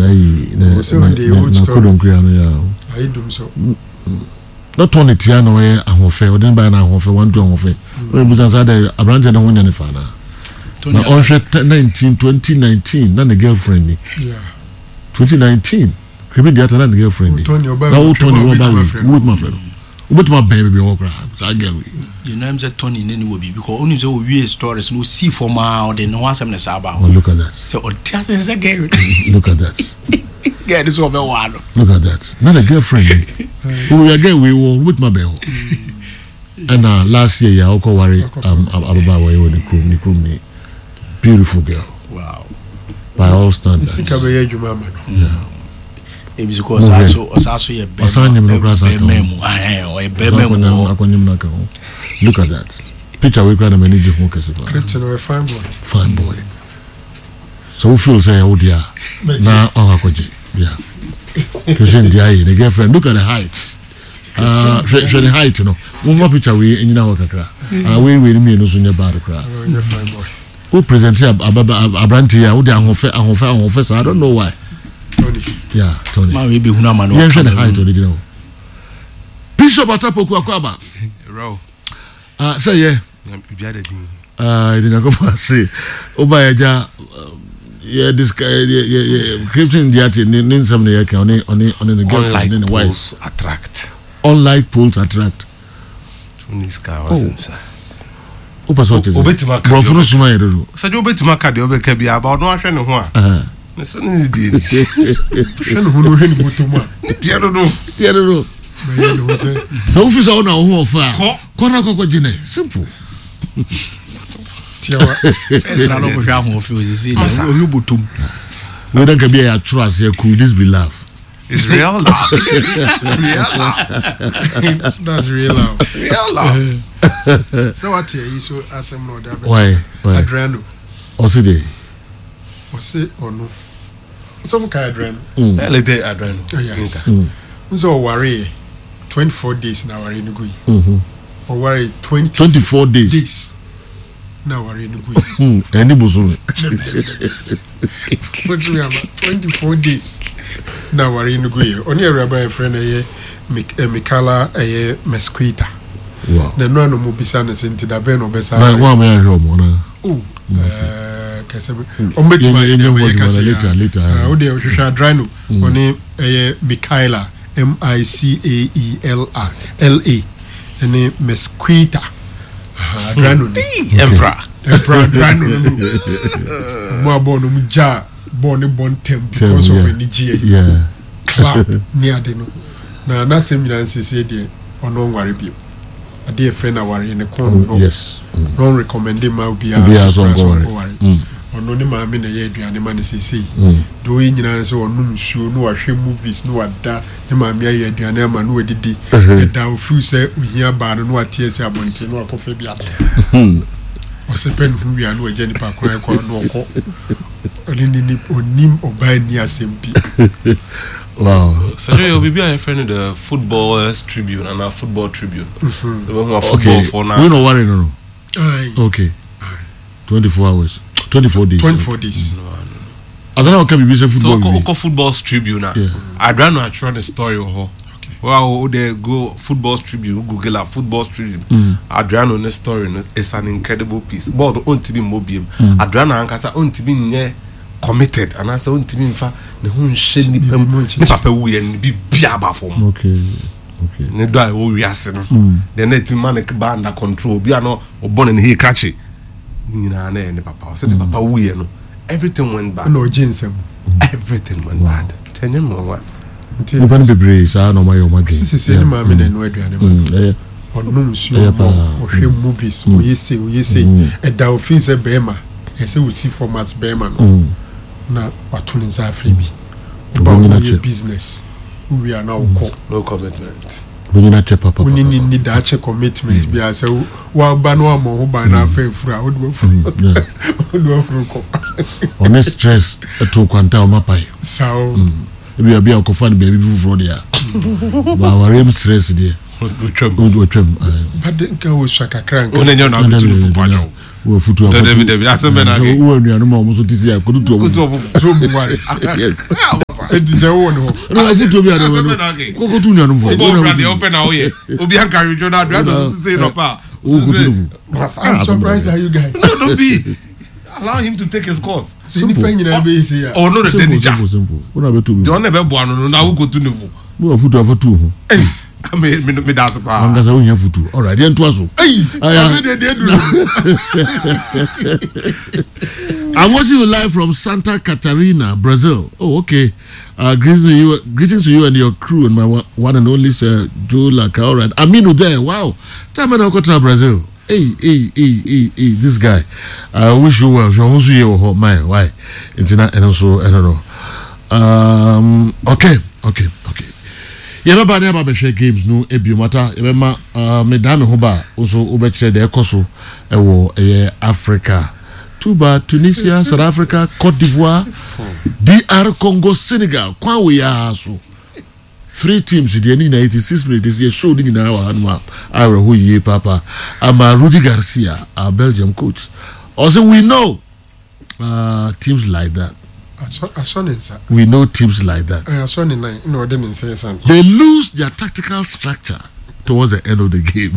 Na yi na na kodonkua no ya. Ayi dum so. Na Tony tia na ɔyɛ ahoɔfɛ ɔde ne ba na ahoɔfɛ wantu ahoɔfɛ. Ɔyɛ busa saa dɛ aberanteɛ ne ho nyɛ ne fa na. Na ɔnhwɛ 19 2019 na ne girlfriend ni. 2019 Krimi Diata na ne girlfriend ni. Na wo Tony wɔ ba wei wo bɛtuma afrɛ no. Wobɛtumi abɛn baabi ɔwɔ koraa saa girl wei. Deɛ nam sɛ Tony ne ne wɔ biribi kɔ ɔnim sɛ ɔwie stories no ɔsii fam a ɔde ne ho asɛm ne saa ba hɔ. Look at that. Sɛ ɔte asɛ sɛ girl. Look at that. Girl no sɛ ɔbɛwaa no. Look at that. Na the girlfriend ni. Owia girl wei wɔ wobɛtumi abɛn hɔ. Ɛna last year yɛ a ɔkɔ ware ababaawa yi wɔ ne kurom ne kurom ni beautiful girl. Wow. By all standards. Sika bɛyɛ adwuma ama no. Yeah. Ebi so kɔ ɔsaa so ɔsaa so yɛ bɛrima. Ɔsan nyim no koraa san ka ho. Bɛrima mu ahɛn ɔyɛ bɛrima mu hɔ. Akɔnyim no aka ho. Look at that. Picture wei koraa na m'ani gye ho kɛse paa. Picture no yɛ fine boy. Fine boy. So wo feel sɛ ɛyɛ wo deɛ a na wakɔ akɔgye. Yeah. Christian Diaye, the girlfriend. Look at the height. Ah, hwɛ hwɛ ne height no. Momma picture wei nyina hɔ kakra. Ah, wei wei no mmienu nso nyɛ bad koraa. Ɔnyɛ fine boy. Wo present aberante yi a wode ahoɔfɛ ahoɔfɛ ahoɔfɛ saa I don't know why. Tony. Yeah, Tony. Maa wei bɛhunu ama no. Yɛnhwɛ ne height ɔde gyina hɔ. Bishop Atapoku Akwaba. Ɛwura o. Ah, sɛ yɛ. Biribiara da din. Ah, yɛde Nyankopɔn ase. Woba yɛ gya yɛ disc yɛ yɛ yɛ Christian Diate ne ne nsɛm na yɛka ɔne ɔne ɔne ne girlfriend ne ne wife. Unlike poles attract. Unlike poles attract. Wonni sika a wasɛm sa. Wopɛ sɛ ɔkyɛ sɛ Obetumi aka borɔfo no suma yɛ dodo. Sɛdeɛ obetumi aka deɛ ɔbɛka biara ba ɔno ahwɛ ne ho a. Ne so ne ne deɛ ni. Hwɛ ne ho no hwɛ ne bɔtɔ mu a. Ne deɛ dodo. Deɛ dodo. Bɛyɛ ne ho sɛ. Sɛ wofi sɛ wo na wo ho ɔfɛ a. Kɔ. Kɔ na kɔkɔ gye ne simple. Tiawa. Sɛ na ɔkɔhwɛ ahoɔfɛ osisi na ɔhwɛ bɔtɔ mu. Wei dɛ nka bi a yɛatwerɛ aseɛ could this be love? It's real love. real love. That's real love. Real love. Sɛ wate ayi so asɛm na ɔde abɛ. Why? Why? Adriano. Ɔsi de. Ɔsi ɔno. Sɔfo ka Adriano. Mm. Lete Adriano. Oh, yes. Mm. Nso ɔware yɛ 24 days na aware no gu yi. Ɔware 20 24 days. Days. Na aware no gu yi. Ɛni bosome. Bosome ama 24 days na aware no gu yɛ. Ɔne awuraba yɛ frɛ no ɛyɛ Mikala ɛyɛ Mesquita. Wow. Na ɛno ano mu bisa no sɛ nti da bɛn na ɔbɛsa. Na wɔn a wɔyɛ ahwɛ wɔn na. Oh, kɛsɛ bɛ. Wɔn bɛtumi ayɛ deɛ wɔyɛ kasa later later. O deɛ ɔhwehwɛ Adrano ɔne ɛyɛ Mikaela M I C A E L A L A ɛne Mesquita. Adrano ni. Emperor. Emperor Adrano no. Ɔmo a bɔɔl no ɔmo gya bɔɔl ne bɔ ntɛm because of anigyeɛ. Club ne ade no. Na n'asɛm nyinaa nsiesie deɛ ɔno ɔnware bio. Adeɛ yɛfrɛ no awareɛ ne kɔn no. Yes. Na ɔnrecommende mma obiara Obiara nso sɛ koraa sɛ ɔnkɔware. ɔnkɔware. Ɔno ne maame na ɛyɛ aduane ma no seesei. Deɛ ɔyɛ nyinaa ne sɛ ɔnom nsuo na wahwɛ movies na wada ne maame ayɛ aduane ama no wadidi. Ɛda a ɔfeel sɛ ohia baa no na wate asi abɔnten na wakɔfa bi aba. Ɔsɛpɛ ne ho wie a na wagya nipa kwan kɔ na ɔkɔ. Ɔne ne ni ɔnim ɔbaa nni asɛm bi. Wow. Sɛ yɛ obi bi a yɛfrɛ no the footballers tribune anaa football tribune. Sɛ bɛhu a football for na. Wei na ɔware no no. Aye. Okay. 24 hours. 24 days. 24 days. Adana ɔka biribi sɛ So football okɔ biribi. okɔ football tribune a. Yeah. Adriano atwerɛ ne story wɔ hɔ. Well, o de go football tribune google a football tribune. Adriano ne story no is an incredible piece. Bɔɔl no ontumi mmɔ biem. Adriano ankasa ontumi nyɛ committed anaasɛ ontumi nfa ne ho nhyɛ nipa mu. Ne papa wuyɛ no biribi aba fam. Okay. Okay. Ne dɔ a ɛwɔ wiase no. Deɛ na ɛtumi ma ne ba under control. Obi a na ɔbɔ ne ne hee krakye. Ne nyinaa na ɛyɛ ne papa. Ɔsɛ ne papa wuyɛ no everything went bad. Ɛna ɔgye nsam. Everything went bad. Tɛnyɛ mmoa. Nti Nipa no bebree saa na ɔma yɛ ɔma dwen. sisi ne maame na ɛnoa aduane ma no. Ɛyɛ Ɔnom nsuo Ɛyɛ mmɔ, paa. ɔhwɛ movies, ɔyɛ sei, ɔyɛ sei. Ɛda ofii sɛ bɛrima, ɛsɛ ɔsi fam as bɛrima no na wato ne nsa afrɛ bi. Woba Ɔbɛnyina woyɛ kyɛ. business, wowie a na wokɔ. No commitment. Bɛnyina kyɛ papa. Wo ne ne nni daakye commitment biara sɛ woaba na woammɔ ho ban na afa afuru a, wode w'afuru wode w'afuru kɔ. Ɔne stress ɛto kwanta a ɔma pae. Saa o. Ebi a bi a ɔkɔfa no baabi foforɔ deɛ a. Ba awareɛ mu stress deɛ. Otwam. Otwam. But nka osua kakra nka. Wo na nyɛ na abetu no fo pakyɛw. Wɔ afutu afutu. Dabi dabi asɛm bɛ na ake. Wɔ anuanom a wɔn nso te si a kodu tu ɔmo Kodu fo. ɔmo fo. So mu ware. Yes. kwa. Eti kyɛ wɔ ne hɔ. Ɛna afutuo bi a de wɔ no koko tu nuanom fo. Wobɔ bra deɛ wopɛ na woyɛ. Obi anka adwodwo na Adriano so sese nɔpa a. Wo kutu no fo. I'm surprised at you guys. No, don't be. Allow him to take his course. Simple. Nipa nyinaa bɛ yi se ya. Ɔno na Simple dani gya. simple simple. Wo na bɛ tu bi. Deɛ ɔno na ɛbɛboa no no na wokotu ne fo. Wo afutuo afa tu ho. Me me me da ase paa. Ankasa wo hia futu. All right, yɛn to aso. Ayi, abe de de duru. I'm watching you live from Santa Catarina, Brazil. Oh, okay. Uh, greetings to you, greetings to you and your crew and my one and only Sir Joe Laka. All right, Aminu there. Wow, time I go to Brazil. Hey, hey, hey, hey, hey, this guy. I wish you well. You also here my why? It's not and also I don't know. Um, okay, okay, okay. Yɛbɛba ne aba bɛhwɛ games no ebio mata yɛbɛma uh, medaa me ho ba a nso wobɛkyerɛ deɛ ɛkɔ so ɛwɔ ɛyɛ Africa. Tuba, Tunisia, South Africa, Cote d'Ivoire, DR Congo, Senegal. Kwan wei ara so. Three teams deɛ ne nyinaa 86 minutes yɛ show ne nyinaa wɔ hanom a awerɛho yie paapa ama Rudi Garcia, our Belgium coach. Ɔsɛ we know uh, teams like that. Asɔ ne nsa. We know teams like that. Asɔ ne nan na ɔde ne nsa ɛsan. They lose their tactical structure towards the end of the game.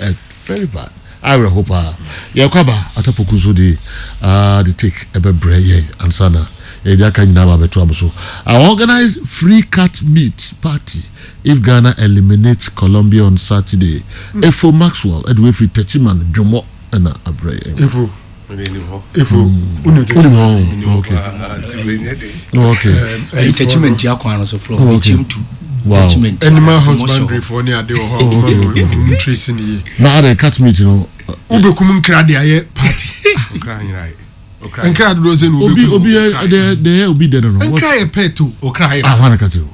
uh, very bad. Awerɛho paa. Yɛkɔ aba Atapoku nso de uh, the take ɛbɛbrɛ yɛn ansa na yɛde aka nyinaa ba abɛto am so. I organize free cat meat party if Ghana eliminates Colombia on Saturday. Mm. Efo Maxwell ɛde wefiri Techiman Dwomɔ ɛna abrɛ yɛn. Efo. Efo. Wonim hɔ. Okay. Okay. Ɛyi Techiman tia kwan no so from Ekyem to Wow. Animal husbandry foɔ ne ade wɔ hɔ a wɔn mu trace ne yie. Na adɛ cat meat no. Wobɛkum nkra de ayɛ party. Nkra dodoɔ sɛ na wobɛkum. Obi obi yɛ de de yɛ obi dɛ no no. Nkra yɛ pet o. Okra yera. Ah, wana kati o.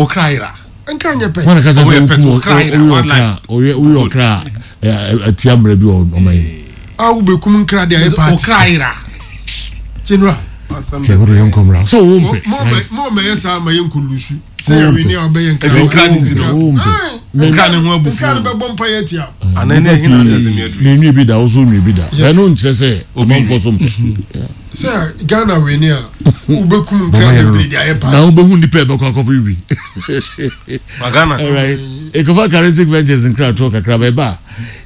Okra yera. Nkra nyɛ pet. Wana kati sɛ okumu owi okra owi owi okra ɛtia mmerɛ bi wɔ ɔman yi. A wobɛkum nkra de ayɛ party. Okra yera. General. Kɛ wɔde yɛn nkɔmra sɛ owó mpɛ. Mo mɛ yɛ saa ma yɛ nkolusu. Sɛ yɛ wini a ɔbɛyɛ nkra. Nkra ne ti no. Owó mpɛ. Nkra ne ho abufuo. Nkra ne bɛbɔ mpa yɛ tia. Ana ne ɛhin na ɔde mi aduru. Ne nwi bi da ɔso nwi bi da. Ɛno nkyerɛ sɛ ɔmanfoɔ so mpɛ. Sɛ Ghana wini a wobɛkum nkra bebree de ayɛ party. Na wobɛhu nipa ɛbɛkɔ akɔpɛ bi. Ma Ghana. Alright. Ekofa Charismatic Ventures nkra toɔ kakra bɛba a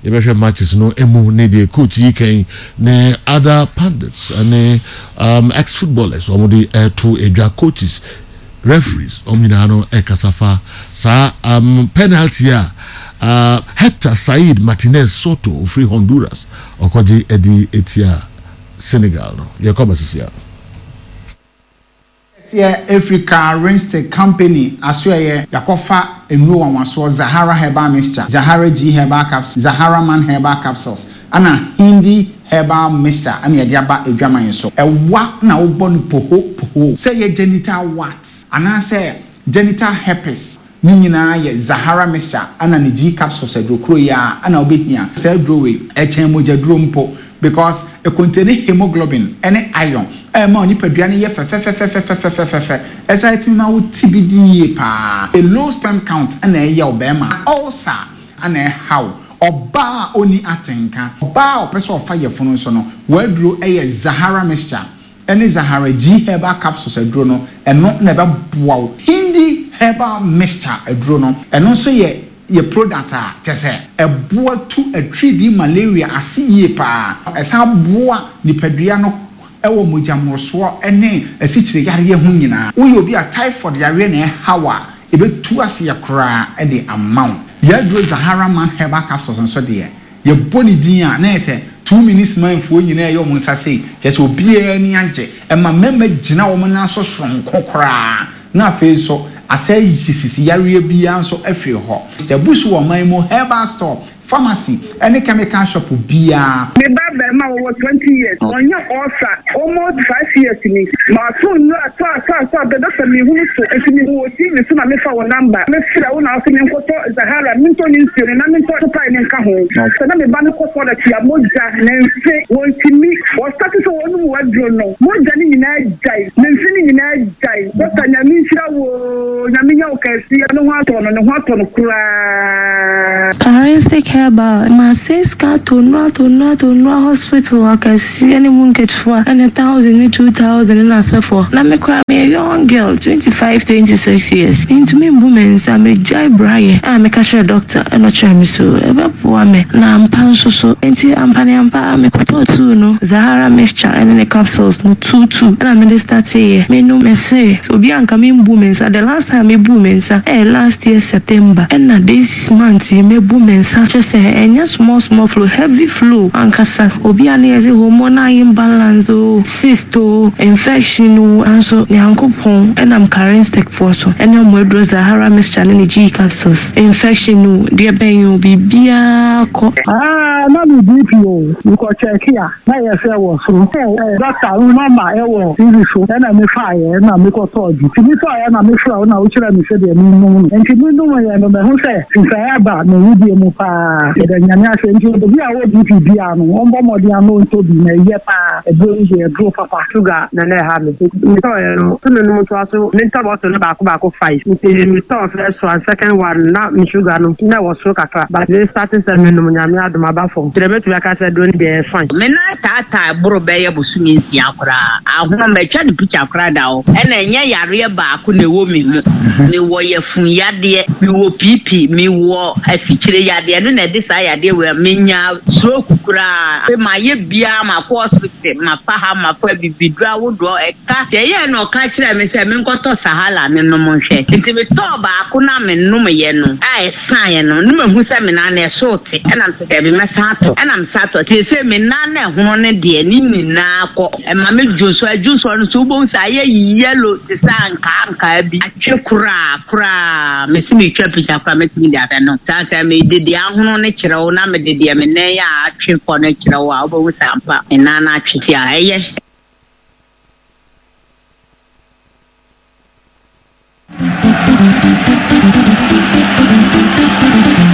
yɛbɛhwɛ matches no emu ne deɛ coach yi kan ne other pundits ne um, ex footballers wɔn de ɛto edwa coaches referees wɔn nyinaa no ɛkasa fa saa um, penalty a uh, Hector Said Martinez Soto ofiri Honduras ɔkɔgye ɛde etia Senegal no yɛkɔ abasisi a. Kɛseɛ ɛfiri Car Rinste Company asoɛeɛ yɛakɔfa nnuro nwanwasoɔ Zahara Herbal Mixture, Zahara G Herbal Capsules, Zahara Man Herbal Capsules ɛna Hindi Herbal Mixture ɛna yɛde aba adwaman yi so. Ɛwa na wobɔ no poho poho. Sɛ ɛyɛ genital warts anaasɛ genital herpes Ne nyinaa yɛ Zahara mixture ɛna ne G capsules aduro koro yi ara ɛna wobɛhia. Saa aduro wei ɛkyɛn mogyaduro mpo because ɛcontaini hemoglobin ɛne iron a ɛma wo nipadua no yɛ fɛfɛfɛfɛfɛfɛfɛfɛ. Ɛsan ɛtumi ma wo ti bi di yie paa. Low sperm count ɛna ɛyɛ wo bɛɛma. Ulcer ɛna ɛha wo. Ɔbaa a ɔnni atenka. Ɔbaa a ɔpɛ sɛ ɔfa yafunu nso no, w'aduro ɛyɛ Zahara mixture. ne Zahara G Herbal Capsules aduro no, ɛno na ɛbɛboa wo. Hindi Herbal Mixture aduro no, ɛno nso yɛ yɛ product a kyerɛ sɛ ɛboa tu atiridii malaria ase yie pa ara. Ɛsan boa nipadua no wɔ mogya mmorosoɔ ne asikyire yareɛ ho nyinaa. Woyɛ obi a typhoid yareɛ na ɛha wo a, ɛbɛtu aseɛ koraa de ama wo. Yɛn aduro Zahara Man Herbal Capsules nso deɛ, Yɛbɔ ne din a, na ayɛ sɛ Two Minutes Man foɔ nyinaa reyɛ wɔn nsa sei, kyerɛ sɛ obiara ani agye. Ɛma mmarima gyina wɔn nan so soronko koraa, na afei nso asan ayi sisi yareɛ biara nso afiri hɔ. Yɛabu so wɔ ɔman yi mu herbal store, pharmacy ne chemical shop biara. Me ba barima ɔwɔ 20 years ɔnya ulcer almost 5 years ni mato nnuro atɔ atɔ atɔ atɔ doctor menhunu so nti mehu wɔ TV so na mefa wo number me frɛ wo na wose menkɔtɔ Zahara mentɔ ne nsuo no na mentɔ topae no nka ho sɛ na me ba no kɔ toilet a mogya ne mfe wɔntumi wɔ start sɛ wɔnom w'aduro no mogya no nyinaa gyae ne mfe no nyinaa gyae doctor Nyame nhyira wo oo Nyame nyɛ wo kɛseɛ ne ho atɔ no ne ho atɔ no koraa. Karensi. Karistic Herbal Masɛe sika atɔ nnuro atɔ nnuro atɔ nnuro hospital akɛseɛ ne mu nketewa ɛne thousand ne 2000 ne n'asefoɔ. Na me koraa meyɛ young girl 25, 26 years mentumi mbu me nsa megyae brayɛ a meka kyerɛɛ doctor ɛna ɔkyerɛɛ me so ɛbɛboa me na ampa nso so. Nti ampa ne ampa ara mekɔtɔɔ tuu no Zahara mixture ɛne ne capsules no tuutuu ɛna mede starteeɛ menom mese obi a nka membu me nsa the last time mebuu me nsa ɛyɛ last year September ɛna this month yi mebu me nsa kyerɛ sɛ ɛnyɛ small small flow heavy flow ankasa obi a na yɛse hormonal imbalance oo cyst oo infection oo nanso Nyankopɔn ɛnam Karenstec foɔ so ɛne ɔmo aduro Zahara mixture ne ne G capsules infection oo deɛ bɛn oo biribiara kɔ. Aah na me BP o, me kɔ check a na yɛ sɛ ɛwɔ soro. Doctor wo number ɛwɔ TV so ɛna me faeɛ ɛna me kɔ tɔɔ bi. Nti me tɔɔeɛ na me frɛ wo na wo kyerɛ me sɛdeɛ me nom no. Nti me nom yɛ no mahu sɛ nsaeɛ aba me wedeɛ mu paa. Yɛda Nyame ase. Nti obi a ɔwɔ BP biaa no ɔmbɔ mmɔden ano ntɔ bi na ɛyɛ paa. Aduro yi deɛ aduro papa. Sugar na na ɛha me. Nti metɔeɛ no, sɛ menom ntoa so, mentɔ bottle no baako baako five. Nti metɔɔ first one, second one no na me sugar no na ɛwɔ soro kakra but me starte sɛ menom Nyame adom aba fam. Nti deɛ mɛtumi aka sɛ aduro no deɛ ɛyɛ fine. Me nan taataa boro bɛyɛ bosome nsia koraa. Ahono matwa no picture koraa da hɔ. Ɛna ɛnyɛ yareɛ baako na ɛwɔ me mu. Mewɔ yafunu yadeɛ, mewɔ PP, mewɔ asikyire yadeɛ. Ɛno na ɛde saa yadeɛ wei a menya stroke koraa. Afei mayɛ biara makɔ hospital, mafa ha, mafa abibiduro ahodoɔ, ɛka. Deɛ ɛyɛɛ no ɔka kyerɛɛ me sɛ menkɔtɔ Sahala no nom nhwɛ. Nti metɔɔ baako no a menomeeɛ no a ɛsaeɛ no, na mahu sɛ me nan no ɛso rete. Ɛna mese daabi mɛsan atɔ. Ɛna mesan tɔ. Seesei me nan no a ɛhono no deɛ ne nyinaa kɔ. Ɛma me dwonsɔ. Ɛdwonsɔ no nso wobɛhu sɛ ayɛ yellow te sɛ ankaa ankaa bi. Atwe koraa koraa. Mese meretwa picture koraa mɛtumi de abɛ no. Saa sɛ mede deɛ ahono no kyerɛ wo na mede deɛ me nan a atwe kɔ no kyerɛ wo a wobɛhu sɛ ampa me nan no atwe. Nti a ɛyɛ.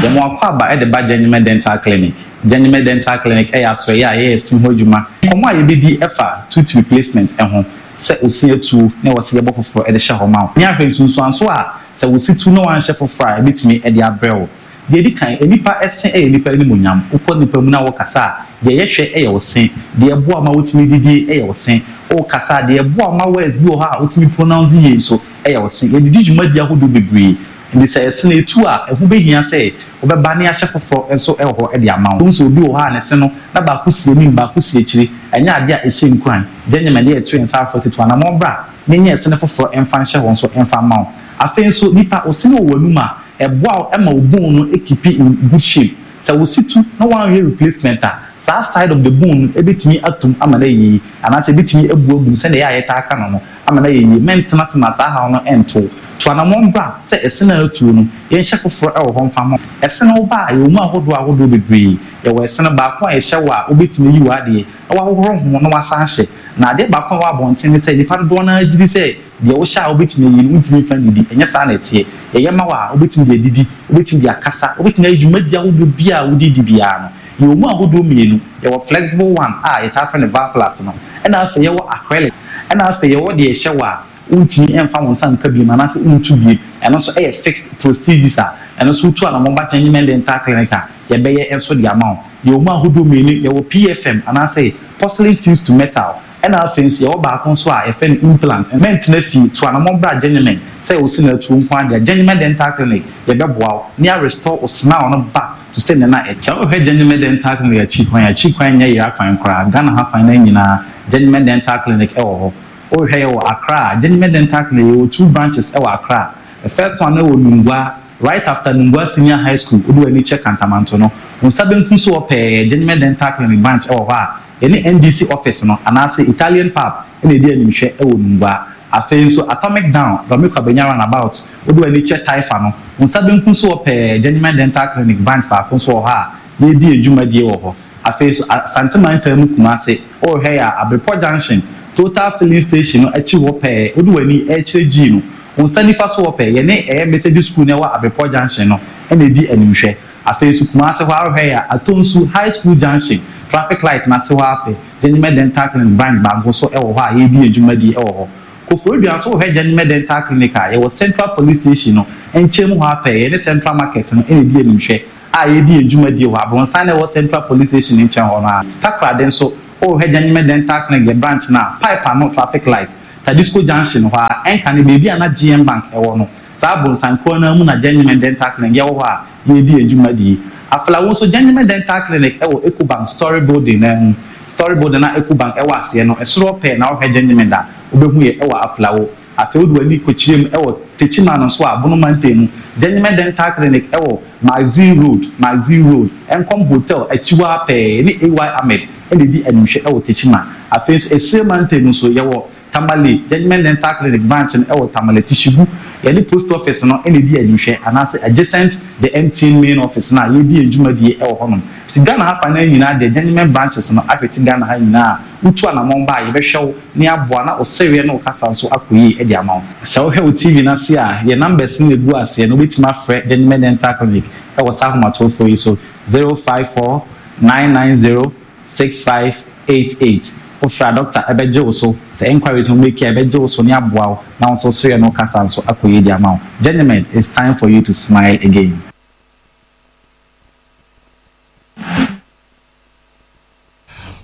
Yɛn akwaaba de ba Gyenyeme Dental Clinic. Gyenyeme Dental Clinic yɛ asoɛeɛ a yɛyɛ se ho adwuma. Nkɔmmɔ a yɛbɛdi fa tooth replacement ho, sɛ wo se atuo na ɛwɔ sɛ yɛbɔ foforɔ de hyɛ hɔ ma wo, ne ahwɛ nsunsuansoɔ a sɛ wo se tu na woanhyɛ foforɔ a ɛbɛtumi de abrɛ wo. Deɛ ɛdi kan, nnipa se yɛ nnipa animuonyam. Wokɔ nnipa mu na wokasa a, deɛ yɛhwɛ yɛ wo se. Deɛ ɛboa wo ma wotumi didie yɛ wo se. Wokasa a, deɛ ɛboa wo ma words bi wɔ hɔ a wotumi pronounce yie nso yɛ wo se. Yɛde di dwumadi ahodoɔ bebree. Enti sɛ ɛse no ɛtu a, ɛho bɛhia sɛ wobɛba na yɛahyɛ foforɔ nso wɔ hɔ de ama wo. Wohu sɛ obi wɔ hɔ a ne se no, na baako si anim, baako si akyire. Ɛnyɛ adeɛ a ɛhyɛ nkuran. Gye nyɛma deɛ yɛto yɛn nsa afrɛ tutu anammɔn bra na nyɛ ɛse no foforɔ mfa nhyɛ hɔ nso mfa mma wo. Afei nso, nipa, wo se no wɔ w'anum a, Ɛboa wo ma wo bone no keepi in good shape. Sɛ wo se tu na woanhwɛ replacement a, saa side of the bone no bɛtumi atom ama no ayɛ yie anaasɛ ɛbɛtumi abu agu mu sɛdeɛ ɛyɛ a yɛtaa ka no no ama no ayɛ yie. Mɛntena ase ma saa haw no nto wo. Tu anamɔn bra sɛ ɛse no a atuo no, yɛnhyɛ foforɔ wɔ hɔ mfa mma wo. Ɛse no woba a, yɛwɔ mu ahodoɔ ahodoɔ bebree. Yɛwɔ ɛse no baako a yɛhyɛ wo a wobɛtumi ayi w'adeɛ na woahohoro ho na woasan ahyɛ. Na adeɛ baako a ɛwɔ abɔnten ne sɛ nnipa dodoɔ no ara gye di sɛ Deɛ wohyɛ a wobɛtumi ayi no, wontumi mfa nnidi. Ɛnyɛ saa na ɛteɛ. Yɛyɛ ma wo a, wobɛtumi de adidi, wobɛtumi de akasa, wobɛtumi ayɛ dwumadie ahodoɔ biara a wode di biara no. Yɛwɔ mu ahodoɔ mmienu. Yɛwɔ flexible one a yɛtaa frɛ no Valplast no, ɛna afei yɛwɔ acrylic. Ɛna afei yɛwɔ deɛ yɛhyɛ wo a wontumi mfa wo nsa nka biom anaasɛ wontu biom. Ɛno nso yɛ fixed prosthesis a ɛno nso wotu anamɔn ba Kyɛnyemen Dental Clinic a, yɛbɛyɛ nso de ama wo. Yɛwɔ mu ahodoɔ mmienu, yɛwɔ PFM anaasɛ porcelain fused to metal. Ɛna afei nso yɛwɔ baako nso a yɛfrɛ no implant. Mɛntena fie, tu anamɔn bra Gyenyemɛn sɛ wo se no atuo nko ara deɛ a, Gyenyemɛn Dental Clinic yɛbɛboa wo na yɛ restore wo smile no back to sɛnea na ɛte. Sɛ wohwɛ Gyenyemɛn Dental Clinic akyi kwan a, akyi kwan nyɛ yera kwan koraa, Ghana ha fan no nyinaa Gyenyemɛn Dental Clinic wɔ hɔ. Wohwɛ yɛwɔ Accra a, Gyenyemɛn Dental Clinic yɛwɔ two branches wɔ Accra. The first one no wɔ Nungua, right after Nungua Senior High School, wode w'ani kyerɛ Kantamanto no, wo nsa benkum so hɔ pɛɛ, Gyenyemɛn Dental Clinic branch wɔ hɔ a, Yɛne NDC office no anaase Italian pub na ɛdi animhwɛ wɔ Nungua. Afei nso Atomic Down, Dɔme Kwabenya Runabout, wode w'ani kyerɛ Taifa no, wo nsa benkum so hɔ pɛɛ Gyenyman Dental Clinic branch baako nso wɔ hɔ a yɛredi yɛn dwumadie wɔ hɔ. Afei nso Asante Mantam mu Kumase, worehwɛ yɛ a, Abrepɔ Junction, Total Filling Station no akyi hɔ pɛɛ, wode w'ani rekyerɛ G no, wo nsa nifa so hɔ pɛɛ, yɛne ɛyɛ Methodist School no a ɛwɔ Abrepɔ Junction no na ɛdi animhwɛ. Afei nso Kumasi hɔ ara hwɛ yɛ a, Atonsu High School Junction traffic light no ase hɔ ara pɛ, Gyenyemɛ Dental Clinic branch baako nso wɔ hɔ a yɛredi yɛn dwumadie wɔ hɔ. Koforidua nso wohwɛ Gyenyemɛ Dental Clinic a, yɛwɔ Central Police Station no nkyɛn mu hɔ ara pɛ, yɛne Central Market no na ɛdi animhwɛ. a yɛredi yɛn dwumadie wɔ hɔ. Abronsan no a ɛwɔ Central Police Station no nkyɛn hɔ no ara. Takoradi nso, worehwɛ Gyenyeme Dental Clinic yɛn branch no a, pipe ano traffic light, Tadisco Junction hɔ ara, ɛnkane baabi a na GM Bank wɔ no. Saa abronsan korɔ no ara mu na Gyenyeme Dental Clinic yɛwɔ hɔ a yɛredi yɛn dwumadie. Aflao nso, Gyenyeme Dental Clinic wɔ Ecobank Story Building no ara mu. Story Building a Ecobank wɔ aseɛ no, ɛsoro hɔ pɛɛ na wohwɛ Gyenyeme da a, wobɛhu yɛ wɔ Aflao. Afei wode w'ani kɔkyerɛ mu wɔ Techiman nso a, Bono mantam mu, Gyenyeme Dental Clinic wɔ Magazine Road, Magazine Road, Nkom Hotel akyi hɔ ara pɛɛ, yɛne AY Ahmed na ɛdi animhwɛ wɔ Techiman. Afei nso Esire mantam mu nso, yɛwɔ Tamale, Gyenyeme Dental Clinic branch no wɔ Tamale, Tishigu, yɛne Post Office no na ɛdi animhwɛ anaasɛ adjacent the MTN main office no a yɛredi yɛn dwumadie wɔ hɔnom. Nti Ghana ha fa no ara nyinaa deɛ Gyenyeme branches no ahwete Ghana ha nyinaa a, wotu anamɔn ba a, yɛbɛhwɛ wo na yɛaboa na wo sereɛ ne wo kasa nso akɔ yie de ama wo. Sɛ wohwɛ wo TV no ase a, yɛn numbers no na ɛgu aseɛ no, wobɛtumi afrɛ Gentleman Dental Clinic wɔ saa ahomatorofoɔ yi so, 054 990 6588. Wofrɛ a, dɔkta bɛgye wo so. Sɛ enquiries na womake a, yɛbɛgye wo so na yɛaboa wo na wo nso wo sereɛ ne wo kasa nso akɔ yie de ama wo. Gentleman, it's time for you to smile again.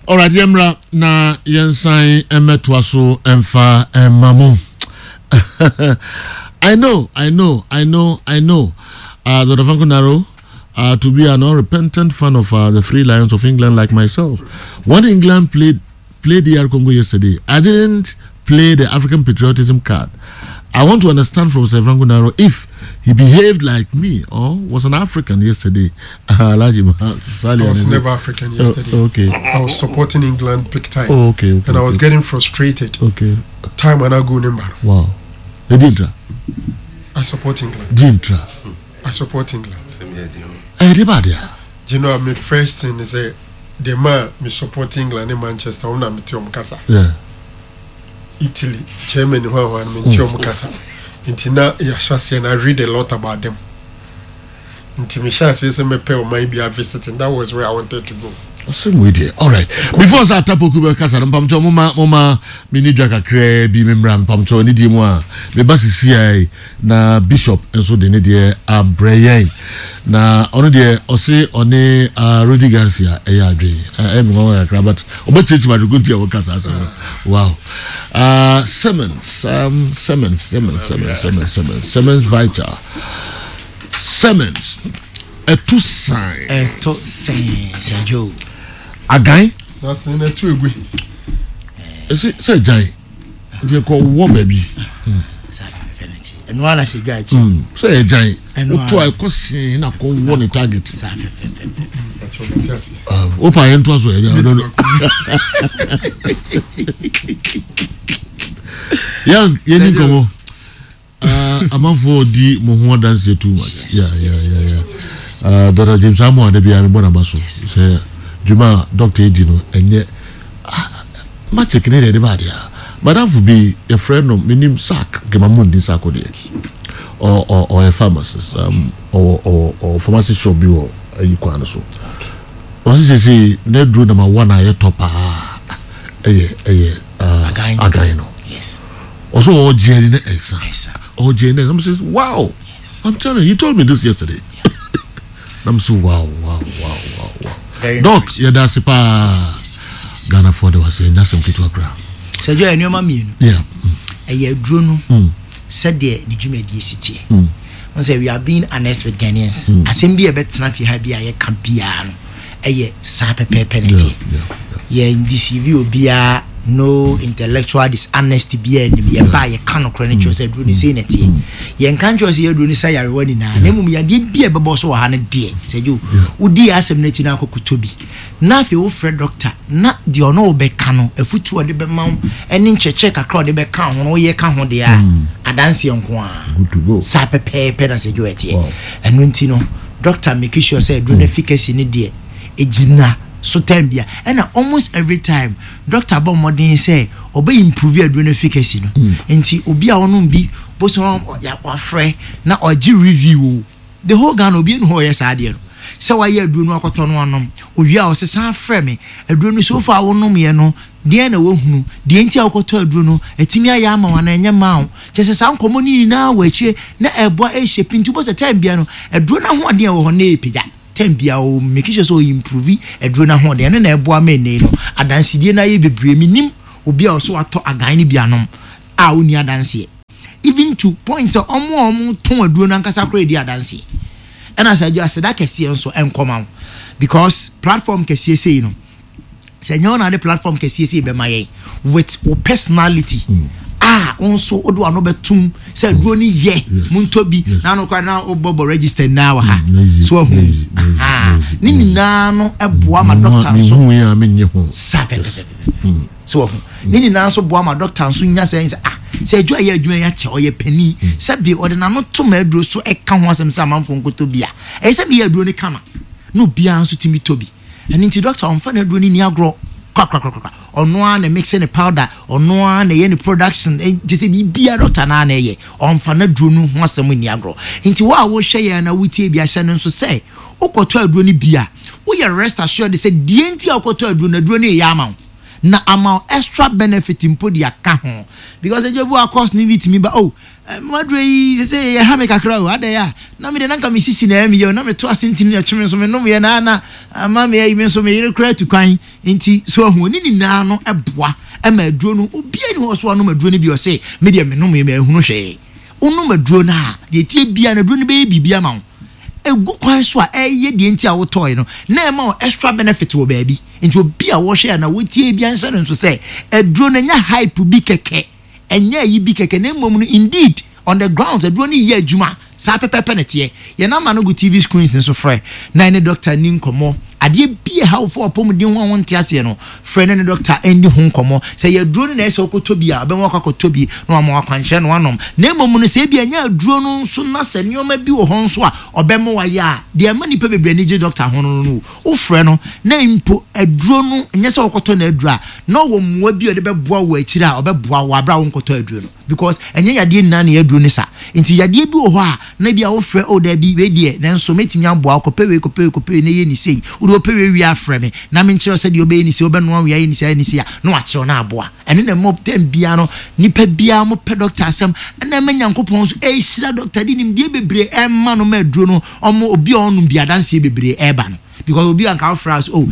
Alright, yɛmmra na yɛnsan mmɛtoa so mfa mma mo. I know, I know, I know, I know. Uh, Dr. Franco Naro, uh, to be an unrepentant fan of uh, the Three Lions of England like myself. When England played played DR Congo yesterday, I didn't play the African patriotism card. I want to understand from Sir Franco Naro if he behaved like me or was an African yesterday. I was never African oh, yesterday. Oh, okay. I was supporting England big time. Oh, okay, okay. And I was okay. getting frustrated. Okay. Time and I go number. Wow. Edintra. I support England. Dintra. I support England. Everybody. You know, my first thing is a the man me support England in Manchester. I'm not kasa. Yeah. Italy, Germany hwan hwan mente wɔn kasa nti na yɛahyɛ aseɛ na I read a lot about them nti mehyɛ aseɛ sɛ mɛpɛ ɔman bi a visiting that was where I wanted to go. Asɛm wei deɛ alright before sɛ atapoku bɛkasa no mpamkyɛw moma moma meni dwa kakraa bi memmra mpamkyɛw ne die mu a meba sisiai Na bishop nso de ne deɛ abrɛ yɛn. Na ɔno deɛ ɔse ɔne uh, Rudy Garcia ɛyɛ adwen. Ɛyɛ me nwanwa kakra but ɔbɛkyerɛkyerɛ adwene nti a wɔka saa asɛm no. Wow. Uh, Simmons, um, Simmons, Simmons, Simmons, Simmons, Simmons, Simmons Vital. Simmons, ɛto san. Ɛto sɛn, Sir Joe. Agan. Na sɛn na ɛto egu. Ɛsɛ sɛ gyan. nti ɛkɔ wɔ baabi. ɛno ara na sɛ dwa akyi. Hmm, sɛ yɛ gyan woto a ɛkɔ see na kɔ wɔ ne target. Ah, wopa yɛn to aso yɛ ɔdɔ no. Young yɛn ni nkɔmɔ. Ah, amanfoɔ di mo ho adanseɛ too much. Yeah, yeah, yeah, yeah. Uh, Dr. James Amoah da biara mebɔ n'aba so sɛ dwuma a dɔkta edi no ɛnyɛ ah, magic ne deɛ ɛde ba adeɛ a madamfo bi yɛfrɛ no menim sack nkema mu nni sack deɛ ɔyɛ pharmacist um, ɔwɔ ɔwɔ ɔwɔ pharmacy shop bi wɔ ayi kwan no so ɔsi sese n'aduro nama one a yɛtɔ paa ɛyɛ ɛyɛ uh, agan no yes ɔsɛ ɔgye ani na ɛsa ɔgye ani na ɛsa I'm saying wow yes. I'm telling you he told me this yesterday yeah. I'm so wow wow wow wow wow doc yɛda ase paa Ghana for de wase ɛnya asɛm ketewa koraa sɛ dwa nneɛma mmienu ɛyɛ aduro no mm. sɛdeɛ ne dwumadie si teɛ mm. n sɛ we are being honest with Ghanaians mm. asɛm bi a ɛbɛtena fie ha bi a yɛka biara no ɛyɛ saa pɛpɛɛpɛ na ɛteɛ. Yɛn deceive obiara, no intellectual dishonesty biara nnim. Yɛba a yɛka nokorɛ no kyerɛ sɛ aduro no sei na ɛteɛ. Yɛnka nkyerɛ sɛ yɛ aduro no sa yarewa nyinaa, na mmom yadeɛ bi a ɛbɛbɔ so wɔ ha no deɛ, sɛ gye wodi yɛ asɛm no akyi na akɔkɔtɔ bi, na afei wofrɛ dɔkta na deɛ ɔne wo bɛka no, afutuo a ɔde bɛma wo ne nkyerɛkyerɛ kakra a ɔde bɛka ho no woyɛ ka ho deɛ a, adanseɛ nko ara. Saa pɛpɛɛpɛ na sɛ gye ɛteɛ. Ɛno nti no, Doctor make sure sɛ aduro no efficacy no deɛ egyina so time bia ɛna almost every time doctor bɔ mmɔden sɛ ɔbɛ improve aduro no efficacy no mm. nti obi a ɔnom bi bosom wafrɛ na ɔgye review o the whole Ghana obi enu hɔ ɔyɛ saa adeɛ no sɛ wayɛ aduro no akɔtɔ no anom owie a ɔsesa frɛ me aduro no so far wonom yɛ no Deɛn na woahunu? Deɛ nti a wokɔtɔ aduro no, atumi ayɛ ama wo anaa ɛnyɛ mmaa wo? Kyerɛ sɛ saa nkɔmmɔ no nyinaa wɔ akyire na ɛreboa ɛreshape nti wobɛhu sɛ time biara no aduro no ahoɔden a ɛwɔ hɔ no na ɛrepagya. Term biara o make sure sɛ o improve aduro no ahoɔden. Ɛno na ɛboa ma ɛnnɛ yi no adansedie no ayɛ bebree. Menim obi a ɔsɛ watɔ agan no bi anom a ɔnni adanseɛ. Even to point sɛ wɔn a wɔtɔn aduro no ankasa koraa redi adanseɛ. Ɛna sɛ adwo aseda kɛseɛ nso ɛnkɔma wo because platform kɛseɛ sei no sɛ ɛnyɛ wo na ade platform kɛseɛ sei bɛma yɛn with wo personality mm. a wo nso wode w'ano bɛtom sɛ aduro no yɛ montɔ bi na ano koraa na wobɔbɔ register nyinaa wɔ ha mm, so ahu ne nyinaa no boa ma doctor nso saa pɛpɛpɛpɛ mm. so wahu ne nyinaa nso boa ma doctor nso nya sɛ sɛ ah sɛ adwuma yɛ adwuma yɛ akyɛ ɔyɛ panin sɛ bi ɔde n'ano to ma aduro so ɛka ho asɛm sɛ amanfoɔ nkɔtɔ bi a ɛyɛ sɛ bi yɛ aduro no kama na obiara nso tumi tɔ bi. Ɛno nti doctor ɔmfa n'aduro no nni agorɔ korakorakorakora. Ɔno ara na mixe ne powder, ɔno ara na ɛyɛ ne production, kyerɛ sɛ biribiara doctor no ara na ɛyɛ. Ɔmfa n'aduro no ho asɛm nni agorɔ. Nti wo a wohwɛ yɛn na wotie bi ahyɛ no nso sɛ wokɔtɔ aduro no bi a, woyɛ rest assured sɛ deɛ nti a wokɔtɔ aduro no, aduro no reyɛ ama wo. Na ama wo extra benefit mpo de aka ho. Because adwuma bi wɔ hɔ a course no bi tumi ba, oh, M'aduro yi sesei ɛha me kakra o, adɛn a? Na me deɛ na nka me sisi na ɛyɛ me ya o, na meto ase ntini na ɛtwe me nso menomeɛ na na ama me ayi me nso me yere koraa atu kwan nti so ahu ne nyinaa no ɛboa ɛma aduro no obiara ni hɔ so anom aduro no bi ɔse me deɛ menomeɛ manhunu hwee. Wonom aduro no a deɛ ɛteɛ biara no aduro no bɛyɛ biribi ama wo ɛgu kwan so a ɛyɛ deɛ nti a wotɔe no na ɛma wo extra benefit wɔ baabi nti obi a wɔhwɛ a na wɔtie bi anhyɛ no nso sɛ aduro no ɛnyɛ hype bi kɛkɛ. Ɛnyɛ ayi bi kɛkɛ na mmom no indeed on the grounds aduro no yɛ adwuma saa pɛpɛɛpɛ na ɛteɛ. Yɛn number no gu TV screens no so frɛ na ɛne doctor nni nkɔmmɔ. Adeɛ bi a ɛha wo fa w'apɔmuden ho a wonte aseɛ no frɛ na ɛne doctor nni ho nkɔmmɔ. Sɛ ɛyɛ aduro no na ɛyɛ sɛ wokɔtɔ bi a ɔbɛma woakɔ akɔtɔ bi na wama wo akwankyerɛ na woanom. Na mmom no sɛ ebia ɛnyɛ aduro no nso na sɛ nneɛma bi wɔ hɔ nso a ɔbɛma woayɛ a deɛ ɛma nnipa bebree ani gye doctor ho no no Wofrɛ no na mpo aduro no nyɛ sɛ wokɔtɔ no aduro a, na ɔwɔ mmoa bi a ɔde bɛboa wo akyire a ɔbɛboa wo aberɛ a wonkɔtɔ aduro no because ɛnyɛ yadeɛ nyinaa na ɛyɛ aduro no sa. Nti yadeɛ bi wɔ hɔ a na bi a wofrɛ oh daabi wei deɛ nanso mɛtumi aboa wo kɔpɛ wei kɔpɛ wei kɔpɛ wei na yɛ ne sei. Wode wopɛ wei wie a frɛ me na menkyerɛ wo sɛdeɛ wobɛyɛ ne sei, wobɛnoa wei ayɛ ne sei ayɛ ne sei a na wakyerɛ wo na aboa. Ɛno na ɛma tɛm biara no nipa biara mo pɛ dɔkta asɛm ɛna ɛma Nyankopɔn nso ɛhyira dɔkta de nimdeɛ bebree ɛma no ma aduro no ɔmo obi a ɔnom bi adanseɛ bebree ɛba no because obi a nka wofra so oh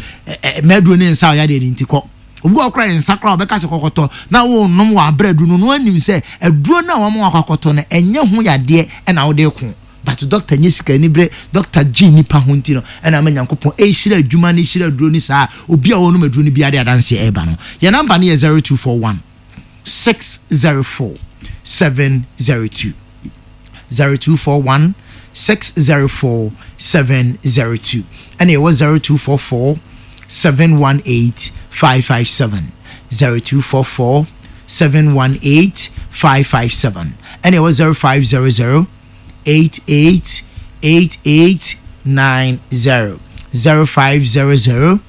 mɛduro ne nsa ɔyɛ adeɛ ne nti kɔ obi wɔ kora nsa kora ɔbɛka sɛ kɔkɔtɔ na wɔnom wɔ abrɛ aduro no no anim sɛ aduro no a wɔn akɔ akɔtɔ no ɛnyɛ ho yadeɛ ɛna wode ko but doctor nyɛ sika ni berɛ doctor gye nipa ho nti no ɛna ama Nyankopɔn ɛhyira adwuma no hyira aduro no saa obi a wɔnom aduro no biara de adanseɛ ɛba no yɛn namba no yɛ 0241 604 702 0241 604 702 ɛna yɛwɔ 0244 718 557 0244 718 557 ɛna ɛwɔ 0500 88 88 90 0500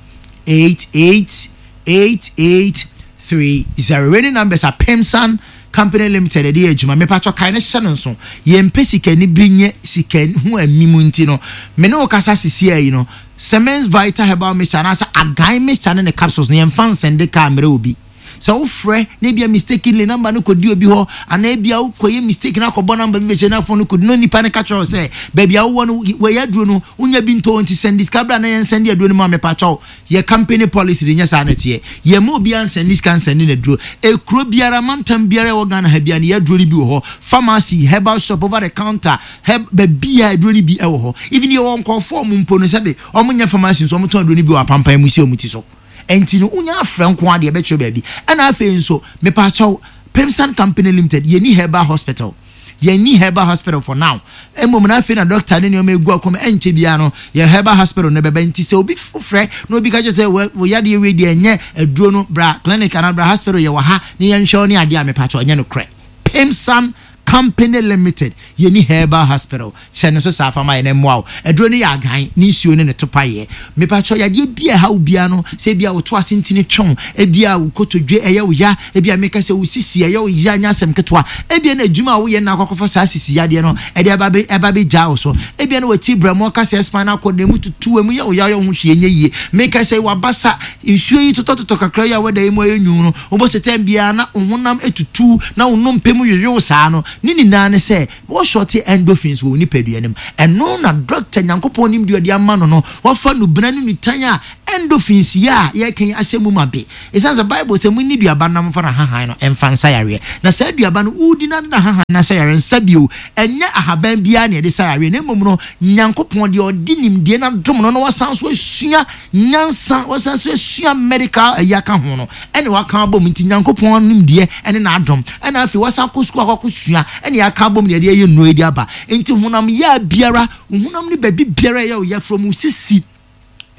88 88 30. Wei ne numbers a Pemsan Company Limited ɛde yɛ adwuma. Mepatwɔ kae no hyɛ no nso. Yɛmpɛ sikanibere nyɛ sika ho amim nti no, me ne wo kasa sisiaa yi no, Semens Vital Herbal Mixture anaasɛ Agan Mixture ne ne capsules no yɛmfa nsɛnde kaa mmerɛ obi. Sɛ wofrɛ na ebia mistakenly number no kɔdi obi hɔ anaa ebia wokɔyɛ mistake na akɔbɔ number bi bɛhyɛ na phone no kɔdi na onipa no ka kyerɛ wo sɛ baabi a wowɔ no wɔyɛ aduro no wonya bi ntɔ nti sɛnde sika bra na yɛnsɛnde aduro no ma mepakyɛw yɛ company policy de nyɛ saa na ɛteɛ yɛmma obiara nsɛnde sika nsɛnde n'aduro ekuro biara mantam biara ɛwɔ Ghana ha biara no yɛ aduro no bi wɔ hɔ pharmacy herbal shop over the counter herb baabi a aduro no bi ɛwɔ hɔ even yɛwɔ nkurɔfoɔ ɔmo mpo no sɛbe ɔmo nyɛ pharmacy nso ɔmo tɔn aduro no bi wɔ apampan mu si ɔmo ti so. Ɛnti no wonya afrɛ nko ara deɛ ɛbɛkyerɛ baabi. Ɛna afei nso mepaakyɛw Pemsan Company Limited yɛnni herbal hospital. Yɛnni herbal hospital for now. Mmom no afei na doctor ne nneɛma egu akɔm ɛnkyɛ biara no yɛn herbal hospital no bɛba. Nti sɛ obi frɛ na obi ka kyerɛ sɛ wo yadeɛ wei deɛ ɛnyɛ aduro no bra clinic anaa bra hospital yɛwɔ ha ne yɛnhwɛ wo ne adeɛ a mepaakyɛw ɛnyɛ nokorɛ. Pemsan Company Limited, Yɛnni Herbal Hospital, hyɛ no nso saa fa ma yɛn na ɛmmoa wo. Aduro no yɛ agan, ne nsuo ne ne topaeɛ. Mepakyɛw, yadeɛ bi a ɛha wo biara no, sɛ ebia wo to ase ntini twe wo, ebia wo kotodwe ɛyɛ wo ya, ebia meka sɛ wo sisi ɛyɛ wo ya, nyɛ asɛm ketewa, ebia na adwuma a woyɛ no na akɔ akɔfa saa sisi yadeɛ no ɛde aba abɛ ɛba abɛgyaa wo so, ebia na w'ati brɛmoɔ ka sɛ spinal cord no emu tutu, emu yɛ wo ya, woyɛ wo ho hwee nyɛ yie. Meka sɛ w'abasa, nsuo yi totɔtotɔ kakra yi a wada yi mu ayɛ nwunu no, Wobɔ sɛ tɛm biara na wo honam tutu na wo nnompe mu yoyow saa no, Ne nyinaa ne sɛ wɔshɔte endorphins wɔ wo nipadua no mu. Ɛno na dɔkta Nyankopɔn nim deɛ ɔde ama no no, wafa nnubena ne nnutan a endorphins yi a yɛreka yi ahyɛ mu ma be. Esiane sɛ Bible sɛ munni duaba no na momfa n'ahahan no mfa nsa yareɛ. Na saa duaba no, wodi na de n'ahahan no asa yareɛ nsa bio. Ɛnyɛ ahaban biara na yɛde sa yareɛ, na mmom no, Nyankopɔn deɛ ɔde nimdeɛ no adom no na wasan nso asua nyansa, wasan nso asua medical ayi aka ho no, ɛna waka abom. Nti Nyankopɔn nimdeɛ ɛne n'adom, ɛna afei wasan akɔ sukuu akɔ akɔsua, ɛna yɛaka abom na yɛde ayɛ nnuro yi de aba. Nti honam yaa biara, wo honam no baabi biara ɛyɛ wo ya, from wo sisi,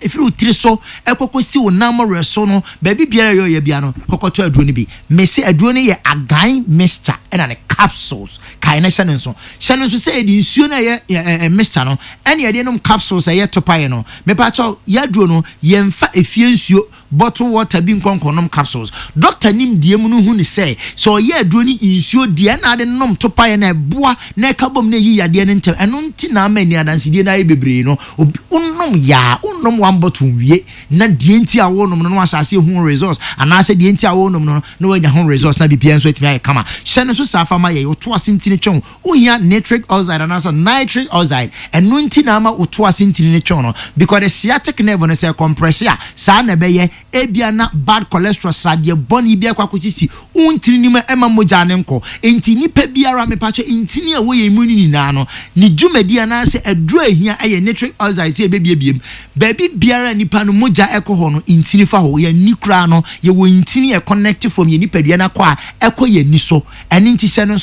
Ɛfiri wo tiri so kɔkɔsi wo nan mmɔwerɛ so no, baabi biara a ɛyɛ ɔya biara no, kɔkɔtɔ aduro no bi. Mese aduro no yɛ Agan mixture ɛna ne capsules. Kae na hyɛ no nso. Hyɛ no nso sɛ yɛde nsuo no a ɛyɛ mixture no ɛne yɛde nom capsules a ɛyɛ topaeɛ no. Mepakyɛw, yɛn aduro no, yɛmfa efie nsuo bottle water bi nkɔ nkɔnom capsules. Dɔkta nimdeɛ mu no hu no sɛ, sɛ ɔyɛ aduro ne nsuo deɛ ɛna ade nom topaeɛ na ɛboa na ɛka bom na ɛyi yadeɛ no ntɛm. Ɛno nti na ama ani adansedie no ayɛ bebree no. Obi wonom yaa, wonnom one bottle nwie na deɛ nti a wonom no na wahyɛ aseɛ hu results anaasɛ deɛ nti a wonom no na wanya ho results na biribiara nso atumi ayɛ kama. Hyɛ no nso saa fa ma yɛn. Woto ase ntini twɛn Wohia nitric oxide anaasɛ nitric oxide. Ɛno nti na ama wo to ase ntini no twe no. Because the sciatic nerve no sɛ ɛkɔmprɛse a, saa na ɛbɛyɛ. Ebia na bad cholesterol, sradeɛ bɔne bi akɔ akɔsisi wo ntini no mu a ɛmma mogya no nkɔ. Enti nipa biara, mepakyɛ, ntini a ɛwɔ yɛn mu no nyinaa no, ne dwumadi anaasɛ aduro a ɛhia yɛ nitric oxide sɛ ɛbɛbiebie mu. Baabi biara a nipa no mogya kɔ hɔ no, ntini fa hɔ. Yɛn ani koraa no, yɛwɔ ntini a ɛconnect from yɛn nipadua no akɔ a ɛkɔ yɛn ani so. Ɛno nti hyɛ no nso.